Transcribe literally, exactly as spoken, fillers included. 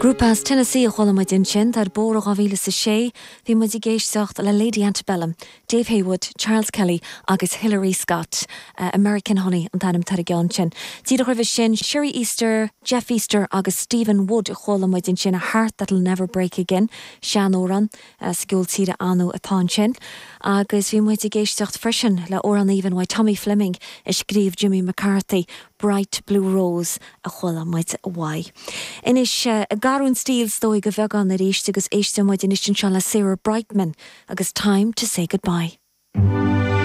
Grúpa as Tennessee a chuala muid ansin ar bór dhá mhíle is a sé, bhí muid ag éisteacht le Lady Antebellum, Dave Haywood, Charles Kelly agus Hillary Scott. Uh, American Honey an t-ainm ar an gceann sin. Díreach roimhe sin Sheri Easter, Jeff Easter agus Stephen Wood a chuala muid ansin a Heart That'll Never Break Again, seanamhrán uh, sa gceol tíre ann atá ansin. Agus bhí muid ag éisteacht freisin le amhrán aoibhinn uaidh Tommy Fleming a scríobh Jimmy McCarthy, Bright Blue Rose a chuala muid uaidh. Anois uh, ag athrú stíl is dóigh go bheagán arís agus éisteann muid anois anseo le Sarah Brightman agus Time to Say Goodbye.